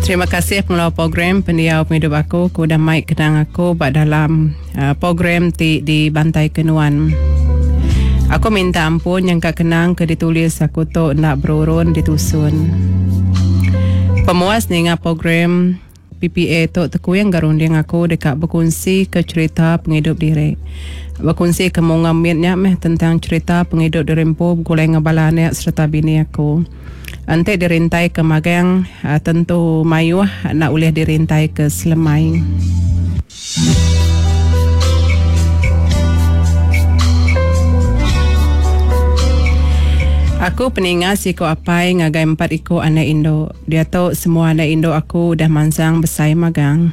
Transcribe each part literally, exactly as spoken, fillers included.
Terima kasih pengelola program Pendiau Pengidup Aku ke udah mai kenang aku ba dalam program ti dibantaika nuan. Aku minta ampun nyangka kenang ke ditulis aku tu enda berurun ditusun. Pemuas ninga program P P A tu tekuing ga runding aku deka bekunsi ke cherita pengidup diri. Bekunsi ke munga mit nya meh tentang cherita pengidup diri empu begulai enggau bala anak sereta bini aku. Enti dirintai ke magang tentu mayuh enda ulih dirintai ke selemai. Aku peninga siku apai ngagai empat iku anak indu. Diatu semua anak indu aku udah mansang besai magang.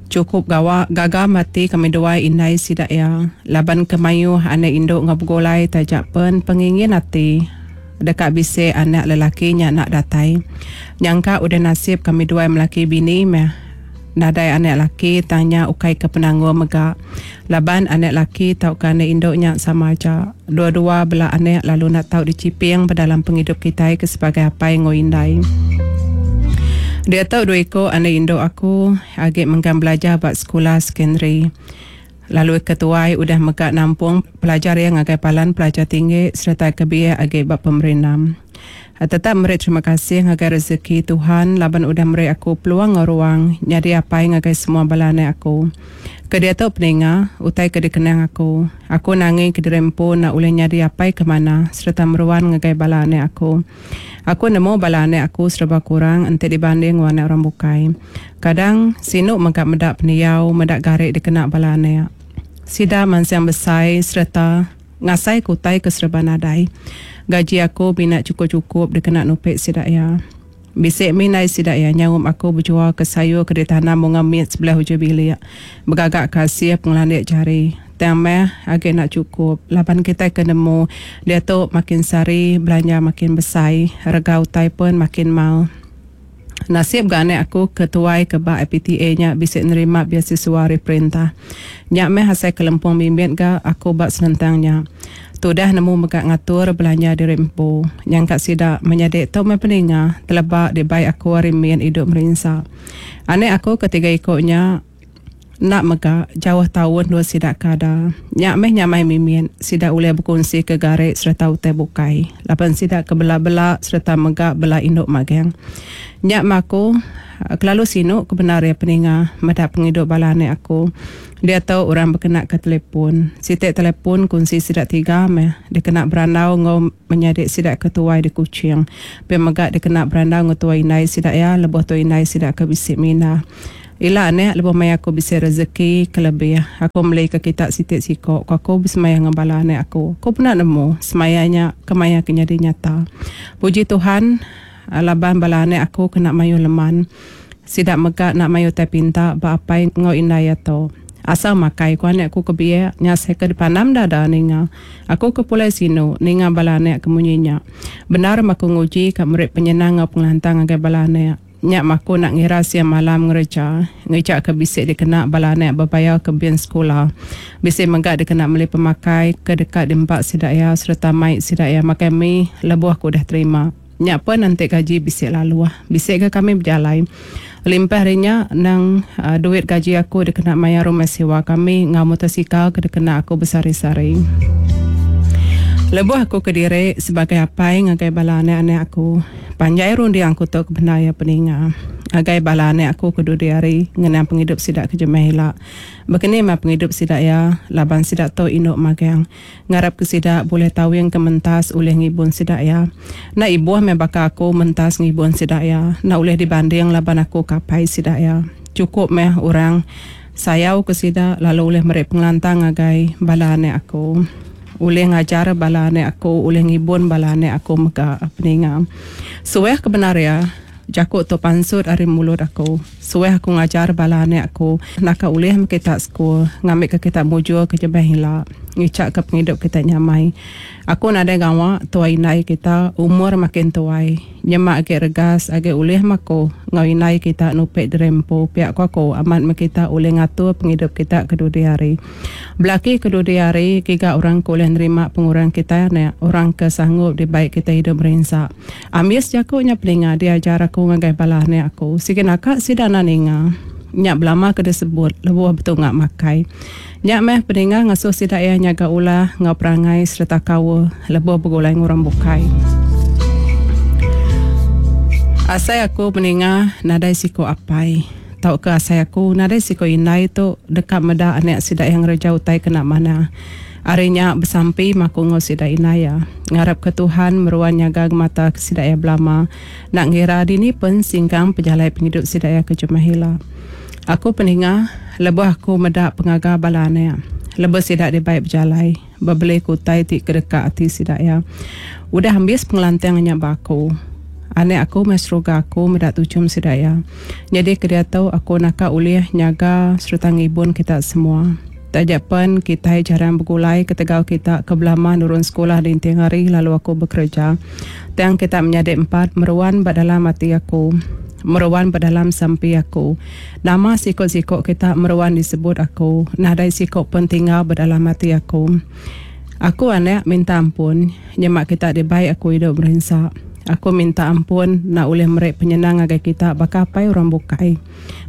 Chukup gawa gaga mati kami duai indai sida iya laban ke mayuh anak indu enggau begulai taja pen pengingin ati deka bisi anak lelaki nya enda datai. Nyangka udah nasib kami duai melaki bini meh nadai anak laki tang nya ukai ke penanggul mega laban anak laki tauka anak indu nya sama aja. Dua-dua bela anak lalu enda tau dichiping ba dalam pengidup kitai ke sebagai apai enggau indai. Diatu dua iku anak indu aku agi mengkang belajar ba sekula sekondari. Lalu ke tuai udah mega nampung pelajar iya ngagai palan pelajar tinggi sereta ke biak agi ba pemerindam. Tetap meri terima kasih ngagai rezeki Tuhan laban udah meri aku peluang enggau ruang nyadi apai ngagai semua bala anak aku. Ke diatu peninga utai ke dikenang aku. Aku nangi kediri empu enda ulih nyadi apai ke manah sereta meruan ngagai bala anak aku. Aku nemu bala anak aku sereba kurang enti dibanding enggau anak orang bukai. Kadang, sinu mega meda pendiau meda gari dikena bala anak. Sida mansang besai sereta ngasaika utai ke sereba nadai. Gaji aku mina chukup-chukup dikena nupi sida iya. Bisi mih indai sida iya nyaup aku bejualka sayur ke ditanam bunga mit sebelah ujung bilik. Begagaka asil pengelandik jari. Tang meh agi enda chukup laban kitai ke nemu diatu makin sehari belanja makin besai, rega utai pun makin mal. Nasib ga anak aku ke tuai ke ba I P T A nya bisi nerima biasiswa ari perintah. Nya meh asai ke lempung mimit ga aku ba senentang nya. Tudah nemu mega ngatur belanja diri empu. Nyangka sida menyadi tu meh peninga teleba dibai aku ari min idup merinsa. Anak aku ke tiga iku nya enda mega jauh taun dua sida ke ada. Nya meh nyamai mimit sida ulih bekunsi ke gari sereta utai bukai laban sida ke bela-bela sereta mega bela indu magang. Nya meh aku kelalu sinu ke bendar iya peninga meda pengidup bala anak aku. Diatu orang bekena ke telefon. Siti telefon kunsi sida tiga meh dikena berandau enggau menyadi sida ke tuai di Kuching. Pia mega dikena berandau enggau tuai indai sida iya lebuh tuai indai sida ke bisi mindah. Ila anak lebuh maya aku bisi rezeki ke lebih, aku meli ke kita siti siko, ku aku besemaya enggau bala anak aku. Aku pernah nemu semaya nya kemaya ke nyadi nyata. Puji Tuhan laban bala anak aku kena mayuh leman. Sida mega enda mayuh utai pinta ba apai enggau indai iya tu. Asal makai ku anak aku ke biak, nya asai ke dipandam dada ninga. Aku ke pulai sinu ninga bala anak ke munyi nya. Bendar meh aku nguji ka meri penyenang enggau pengelantang ngagai bala anak. Nya meh aku enda ngira siang malam ngereja, ngeja ke bisi dikena bala anak bebayar ke bin sekula. Bisi mega dikena meli pemakai ke deka diempa sida iya sereta mai sida iya makai mi lebuh ke udah terima. Nya pen enti gaji bisi laluh. Bisi ga kami bejalai. Limpah ari nya endang duit gaji aku dikena mayar rumah sewa kami enggau motosikal ke dikena aku besehari-sehari. Lebuh aku kediri sebagai apai ngagai bala anak-anak aku, panjai runding aku tu ke bendar iya peninga ngagai bala anak aku ke dudi hari ngenang pengidup sida ke jemah ila. Bekeni meh pengidup sida iya laban sida tu indu magang. Ngarap ke sida bulih tawing ke mentas ulih ngibun sida iya. Enda ibuh meh baka aku mentas ngibun sida iya. Enda ulih dibanding laban aku ke apai sida iya. Chukup meh orang sayau ke sida lalu ulih meri pengelantang ngagai bala anak aku. Ulih ngajar bala anak aku, ulih ngibun bala anak aku mega peninga. Suah ke bendar iya, jaku tu pansut ari mulut aku. Suah aku ngajar bala anak aku, naka ulih meh kita sekul ngambika kita mujur ke jemah ila, ngichaka pengidup kita nyamai. Aku nadai gawa tuai indai kita umur makin tuai. Nyema agi regas agi ulih meh aku enggau indai kita nupi diri empu pia ku aku amat meh kita ulih ngatur pengidup kita ke dudi hari. Belaki ke dudi hari giga orang ke ulih nerima pengurang kitai anak orang ke sanggup dibai kitai idup merinsa. Ambis jaku nya peninga diajar aku ngagai bala anak aku sigi naka sida enda ninga. Nya belama ke disebut lebuh betunga makai. Nya meh peninga ngasuh sida iya nyaga ulah enggau perangai sereta kaul lebuh begulai enggau orang bukai. Asai aku peninga nadai siku apai tauka asai aku nadai siku indai tu deka meda anak sida iya ngereja utai kena manah. Ari nya besampi meh aku enggau sida indai iya. Ngarapka Tuhan meruan nyaga ngemata ke sida iya belama enda ngira dini pen singkang pejalai pengidup sida iya ke jemah ila. Aku peninga lebuh aku meda pengaga bala anak lebuh sida dibai bejalai bebeli ke utai ti kedeka ati sida iya. Udah ambis pengelantang nya ba aku. Anak aku meh seruga aku meda tuchum sida iya. Nyadi ke diatu aku naka ulih nyaga sereta ngibun kita semua. Taja pen kitai jarang begulai ketegal kita ke belama nurun sekula ninting hari lalu aku bekereja. Tang kita menyadi empat meruan ba dalam ati aku. Meruan ba dalam sampi aku. Nama siko-siko kita meruan disebut aku. Nadai siko pen tinggal ba dalam ati aku. Aku anak minta ampun nyema kita dibai aku idup merinsa. Aku minta ampun enda ulih meri penyenang ngagai kita baka apai orang bukai.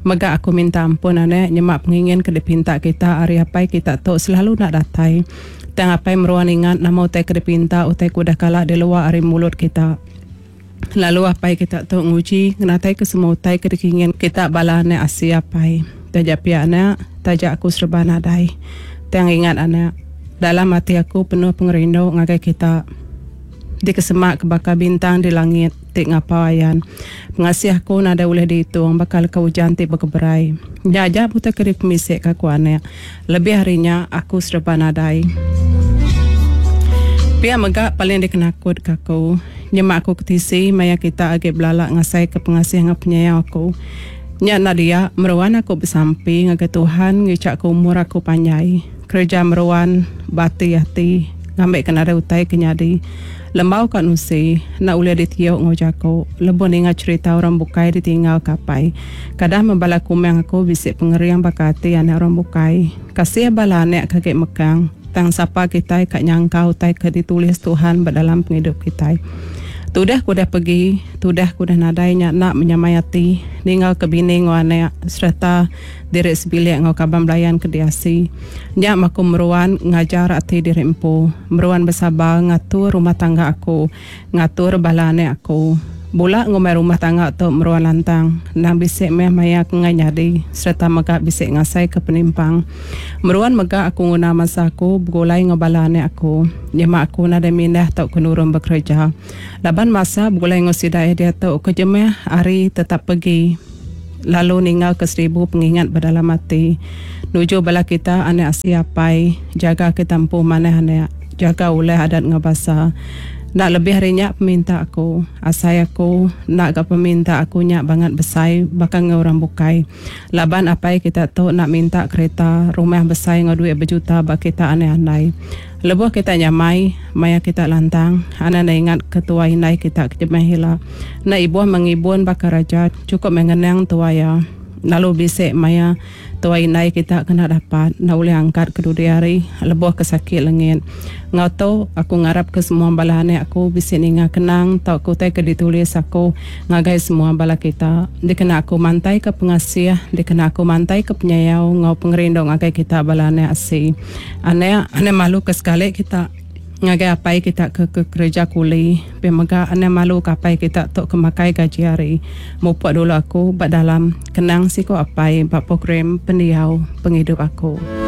Mega aku minta ampun anak nyema pengingin ke dipinta kita ari apai kita tu selalu enda datai. Tang apai meruan ingat nama utai ke dipinta utai ke udah kala dilua ari mulut kita. Lalu apai kita tu nguji ngenataika semua utai ke dikingin kita bala anak asi apai. Taja pia anak, taja aku sereba nadai. Tang ingat anak, dalam ati aku penuh pengerindu ngagai kita. Dikesema ke baka bintang di langit ti ngapau ayan. Pengasih aku nadai ulih diitung baka leka ujan ti bekeberai. Nya aja utai ke dipemisika aku anak. Lebih ari nya, aku sereba nadai. Pia mega paling dikenakutka aku, nyema aku ketisi maya kita agi belala ngasaika pengasih enggau penyayau aku. Nya enda dia, meruan aku besampi ngagai Tuhan ngichaka umur aku panjai, kereja meruan ba ati ati ngambika nadai utai ke nyadi. Lembau ka nusi, enda ulih ditiu enggau jaku lebuh ninga cherita orang bukai ditinggalka apai. Kadah meh bala kumang aku bisi pengering baka ati anak orang bukai. Kasih bala anak ke agi mekang. Tang sapa kitai ka nyangka utai ke ditulis Tuhan ba dalam pengidup kitai. Tudah ke udah pegi, tudah ke udah nadai nya enda menyamai ati ninggalka bini enggau anak sereta diri sebilik enggau kaban belayan ke diasi. Nya meh aku meruan ngajar ati diri empu, meruan besabar ngatur rumah tangga aku, ngatur bala anak aku. Bula ngumbai rumah tangga tu meruan lantang, endang bisi meh maya ke enggai nyadi sereta mega bisi ngasaika penimpang. Meruan mega aku nguna masa aku begulai enggau bala anak aku, nyema aku nadai mindah tauka nurun bekereja. Laban masa begulai enggau sida iya diatu ke jemah hari tetap pegi lalu ninggalka seribu pengingat ba dalam ati. Nuju bala kita anak asi apai, jaga kita empu manah anak, jaga ulah adat enggau basa. Enda lebih ari nya peminta aku. Asai aku, enda ga peminta aku nya bangat besai baka enggau orang bukai. Laban apai kita tu enda minta kereta, rumah besai enggau duit bejuta ba kita anai andai. Lebuh kita nyamai, maya kita lantang, anang enda ingat ke tuai indai kita ke jemah ila. Enda ibuh mengibun baka raja, chukup meh ngenang tuai iya. Lalu bisi maya tuai indai kita kena dapat enda ulih angkat ke dudi hari lebuh ke sakit lengit. Enggau tu, aku ngarapka semua bala anak aku bisi ninga kenang tauka utai ke ditulis aku ngagai semua bala kita. Dikena aku mantaika pengasih, dikena aku mantaika penyayau enggau pengerindu ngagai kita bala anak asi. Anak, anang malu ke sekali kita. Ngagai apai kita ke ke kereja kuli, pia mega anang malu ke apai kita tu ke makai gaji hari. Mupuk dulu aku ba dalam kenang siku apai ba program pendiau pengidup aku.